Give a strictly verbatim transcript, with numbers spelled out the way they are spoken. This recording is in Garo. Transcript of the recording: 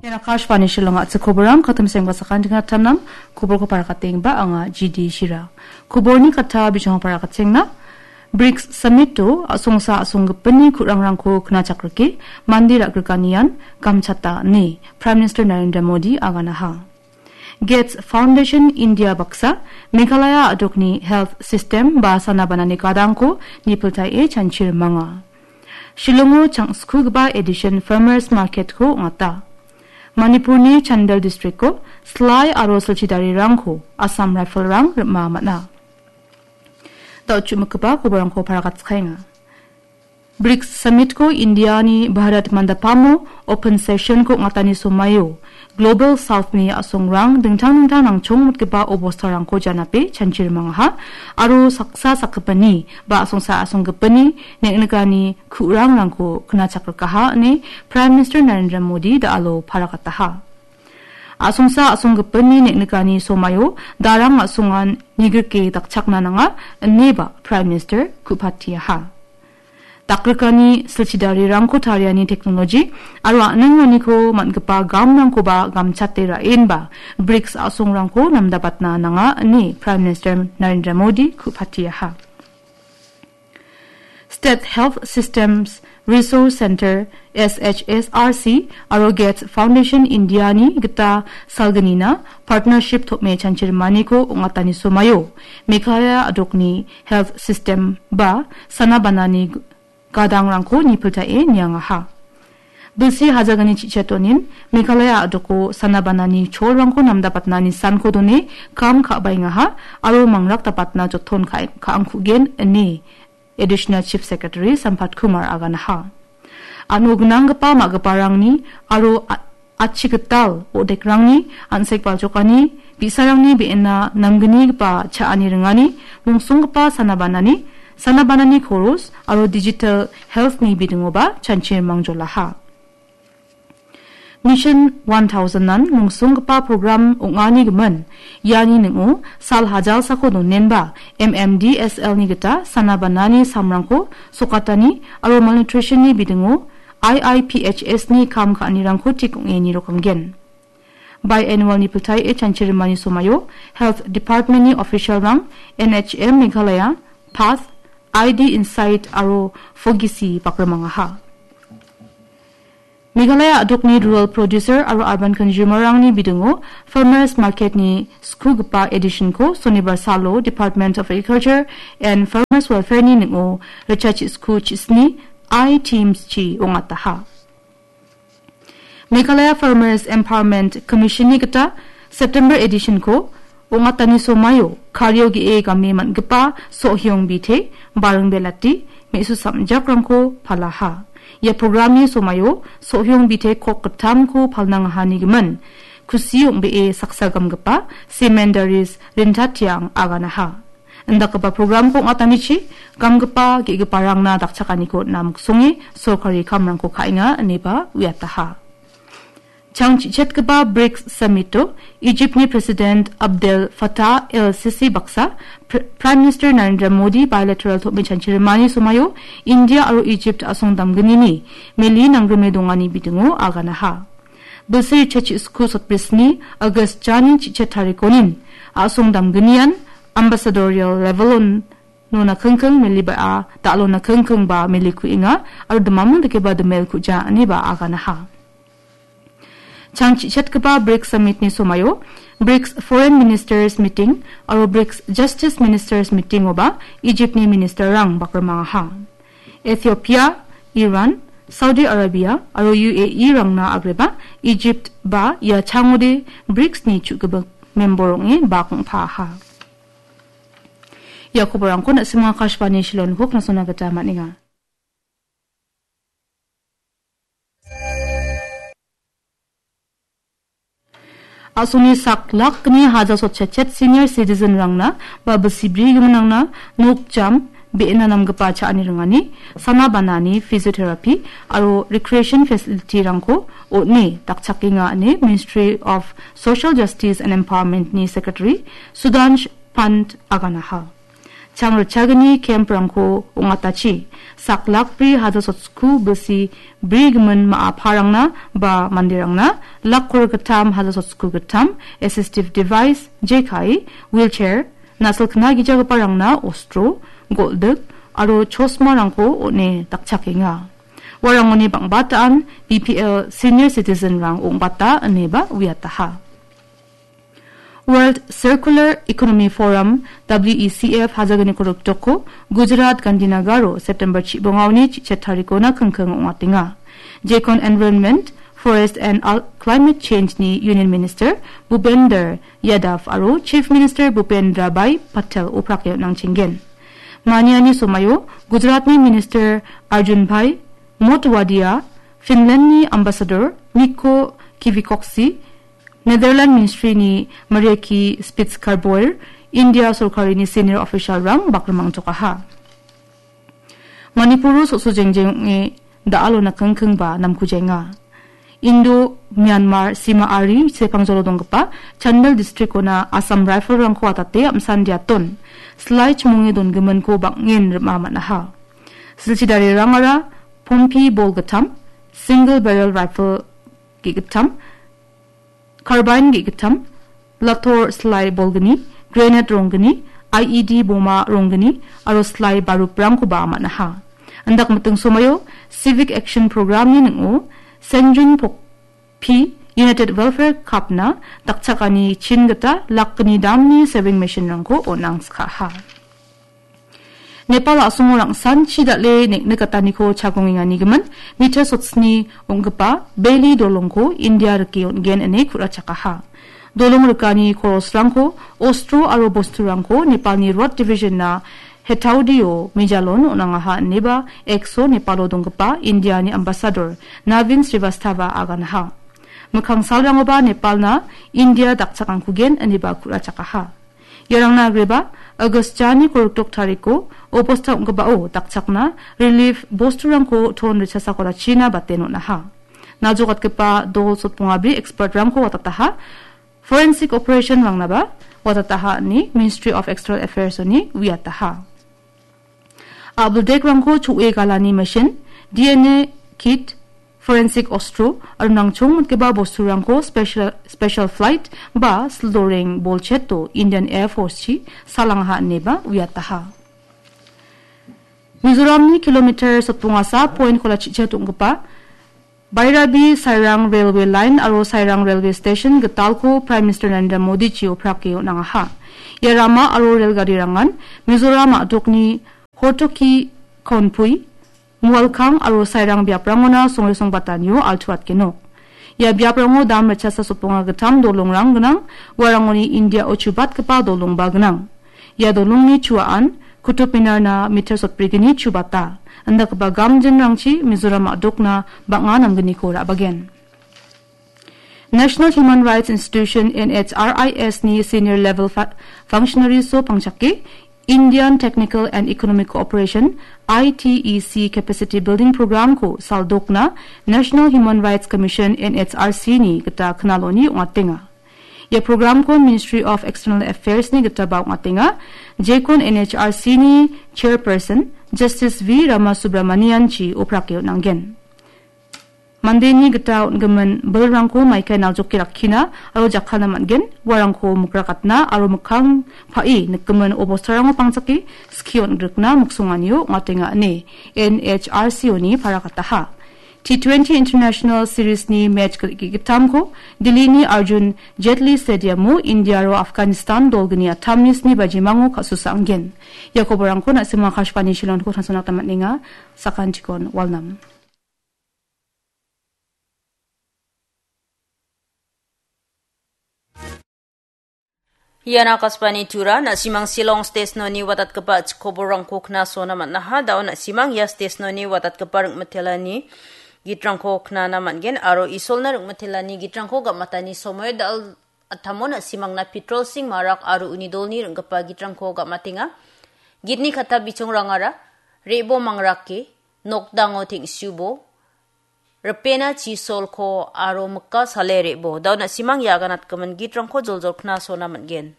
Ian Akashvani Shillong a·chik koborang, katim sengba sakantikna tamnam, koborko parakatengba anga G D Shira. Koborni kata bijong parakatengna, brics summit-o a·songsa a·songgipini ku·rangrangko knachakrike, mande ra·grikanian gamchata ine Prime Minister Narendra Modi aganaha. Gates Foundation India baksa Meghalaya a·dokni health system ba sana banani gadangko nipiltae chanchirimanga. Shillongo changskugipa Edition Farmers Market-ko ong·ata. Manipurni Chandel district-ko Salai aro silchidarirangko Assam Rifle-rang rima man·a. Da·o chu·mikgipa koborangko parakatskaenga. brics summit-ko Indiani Bharat Mandapamo open session-ko ong·atani somaio Global South-ni a·songrang dingtang dingtang nangchongmotgipa obostarangko janape chanchirimangaha aro saksa sakgipini ba a·songsa a·songgipini neng·nikani ku·rangrangko knachakrikaha ine Prime Minister Narendra Modi da·alo parakataha. A·songsa a·songgipini neng·nikani somaio darang a·songan nigrike dakchakna nanga ineba Prime Minister ku·patiaha. Dakrikani silchidarirangko tariani teknoloji aro a·ning maniko man·gipa gamrangkoba gamchate ra·enba brics a·songrangko namdabatna nanga ine Prime Minister Narendra Modi ku·patiaha. State Health Systems Resource Centre, S H S R C, aro Gates Foundation India-ni gita salgnina partnership tom·e chanchirimaniko ong·atani somaio Meghalaya a·dokni health system ba sana banani gadangrangko nipiltae niangaha. Bilsi hajagni chichatonin Meghalaya a·doko sana banani cholrangko namdabatna nisanko done kam ka·baengaha aro mangrak dapatna joton ka-, ka·angkugen ine Additional Chief Secretary Sampath Kumar aganaha. Ano gnanggipa ma·giparangni aro a-, achigital odekrangni an·sek baljokani, bi·sarangni be·ena namgnigipa cha·ani ringani, mongsonggipa sana banani, sana banani koros aro digital health-ni bidingoba chanchirimang jolaha. Mission one thousand-an mongsonggipa program ong·ani gimin, iani ning·o sal hajalsako donenba M M D S L-ni gita sana banani samrangko sokatani aro malnutrition-ni bidingo I I P H S-ni kam ka·anirangko tik ong·e nirokanggen. Biannual-ni pitaie chanchirimani somaio Health Department-ni official-rang N H M Meghalaya, Path, I D Insight aro Fogisi bakrimangaha. Meghalaya a·dokni rural producer aro urban consumer-rangni bidingo Farmers Market-ni skugipa edition-ko sonibar salo Department of Agriculture and Farmers Welfare-ni ning·o richachi sku chisni I Teams chi ong·ataha. Meghalaya Farmers Empowerment Commission-ni gita September edition-ko ong·atani somaio kario ge·e game man·gipa Sohyong Bite, Baring Belati, me·su samjakrangko palaha. Ia programni somaio Sohyong Bite kok gittamko palnangahani gimin, kusi ong·bee saksa gamgipa Semendaris Rintatiang aganaha. Indakgipa programko ong·atanichi gamgipa ge·giparangna dakchakaniko namksonge sorkari kamrangko ka·enga ineba uiataha. Chang chichetgipa brics summit-o Egypt-ni President Abdel Fattah El Sisi baksa Pr-, Prime Minister Narendra Modi bilateral tom·e chanchirimani somaio India aro Egypt a·song damgnini meli nanggrime dongani bidingo aganaha. Bilsi richachi sku sotbrisni August jani chichet tarikonin a·song damgnian ambassadorial level-on nona kingking meli ba·a, da·alona kingking ba meli ku·enga, aro dimamon dakeba dimel ku·ja ineba aganaha. Chang chichetgipa brics summit-ni somaio brics Foreign Ministers Meeting aro brics Justice Ministers Meeting-oba Egypt-ni minister-rang bakrimangaha. Ethiopia, Iran, Saudi Arabia aro U A E-rangna agreba Egypt ba ia changode brics-ni chu·gipin member ong·e bakingpaha. Ia koborangko na·simang Akashvani Shillong-niko knasona gita man·enga. A·songni sak lakni haja sotchetchet senior citizen-rangna ba bilsi brigiminrangna nokjam, be·ena namgipa cha·ani ringani, sana banani physiotherapy aro recreation facility-rangko on·e dakchakenga ine Ministry of Social Justice and Empowerment-ni Secretary Sudhansh Pant aganaha. Chang ritchagni camp-rangko ong·atachi, sak lak bri haja sotsko bilsi bri gimin ma·a parangna ba manderangna lak kor gittam haja sotsko gittam, assistive device, jekai, wheelchair, nasil kna gijagiparangna ostro, goldik aro chosmarangko on·e dakchakenga. Uarangoni bang·bataan B P L senior citizen-rang ong·bata ineba uiataha. World Circular Economy Forum, W E C F, hajagniko rikdoko Gujarat Gandhinagaro September chibongaoni chichet tarikona kingking ong·atenga. Jekon Environment, Forest and Al-, Climate Change-ni Union Minister Bhupender Yadav aro Chief Minister Bhupendra Bhai Patel oprake on·angchenggen. Maniani somaio Gujaratni Minister Arjun Bhai Motwadia, Finland-ni Ambassador Mikko Kivikkoksi, Netherland Ministry-ni Marieke Spits-Carboeir, India sorkarini senior official-rang bakrimangtokaha. Manipuro so·so jengjeng ong·e da·alo nakengkengba namkujaenga. Indo Myanmar sima ari sepangjolo donggipa Chandel district-ona Assam Rifle-rangko atate am·san diaton, slai chimonge dongiminko bang·en rima man·aha. Silchi darirangara pompi bol gittam, single barrel rifle ge·gittam, carbine ge·gittam, lator slai bolgni, grenade ronggni, I E D boma ronggni, aro slai baruprangkoba man·aha. Indak miting somoio Civic Action Program-ni ning·o Senjun Pokpi United Welfare Cup-na dakchakani chin gita lakgni damni sewing machine-rangko on·angskaha. Nepal a·songo rangsanchi dal·e nek·nik gataniko chagongenganigimin mita sotsni ong·gipa beli dolongko India rike on·gen ine ku·rachakaha. Dolong rikani korosrangko, ostro aro bosturangko Nepalni Road Division-na Hetaudio Mijalon on·angaha ineba X-o Nepalo donggipa Indiani Ambassador Navin Srivastava aganaha. Mikkang salrangoba Nepalna India dakchakangkugen ineba ku·rachakaha. Iarangna agreba, August jani korokdok tariko obosta ong·gipao dakchakna relief bosturangko ton ritchasako rachina bate on·aha. Naljogatgipa dol sotbongabri expert-rangko watataha, forensic operation-rangnaba watataha ine Ministry of External Affairs-oni uiataha. A·bildekrangko cho·e galani machine, D N A kit, forensic ostro, aro nangchongmitgipa bosturangko special, special flight ba sildoreng bolcheto Indian Air Force-chi salangaha ineba uiataha. Mizoramni kilometer sotbongasa point kola chichet ong·gipa Bairabi Sairang Railway Line aro Sairang Railway Station gitalko Prime Minister Narendra Modi-chi oprake on·angaha. Ia rama aro rel garirangan Mizoram a·dokni Hotoki, Konpui, Mualkang aro Sairang biaprangona songe songbatanio altuatgenok. Ia biaprango dam ritchasa sotbonga gittam dolongrang gnang, uarangoni India-o chubatgipa dolongba gnang. Ia dolongni chuaan Kutub Minarna meter sotbrigni chubata. Indakgipa gamjinrangchi Mizoram a·dokna bang·a namgniko ra·bagen. National Human Rights Institution, N H R I S-ni senior level fa-, functionaries-o pangchake Indian Technical and Economic Cooperation, I T E C, Capacity Building Program-ko saldokna National Human Rights Commission, N H R C-ni gita knaloni ong·atenga. Ia program-ko Ministry of External Affairs-ni gitaba ong·atenga. Jekon N H R C-ni chairperson Justice V Ramasubramanian-chi oprake on·angen. Mandeni gita on·gimin bilrangko maikai naljoke rakkina aro jakkalna man·gen, uarangko mikrakatna aro mikkang pa·e nikgimin obostarango pangchake skie on·grikna miksonganio ong·atenga ine N H R C-oni parakataha. T twenty International Series-ni match ge-, ge-, gittamko Delhi-ni Arjun Jaitley Stadium-o India aro Afghanistan dolgni atamni sni bajimango ka·susa anggen. Ia koborangko na·sima Akashvani Shillong-ko tangsimna gita man·enga, sakantikon walnam. Ian Akashvani Tura, na·simang Shillong station-oni watatgipa chikoborangko knasona man·aha. Da·o na·simang ia station-oni watatgipa ring·mitelani gitrangko knana man·gen aro Isolna ring·mitelani gitrangko gam·atani somoio dal-, atamo na·simangna Petrol Singh Marak aro uni dolni ring·gipa gitrangko gam·atenga. Gitni katta bichongrangara, Re·bo mangrake, Nokdango teng·subo, Ripena chisolko aro Mikka sale re·bo. Da·o na·simang ia aganatgimin gitrangko joljol knasona man·gen.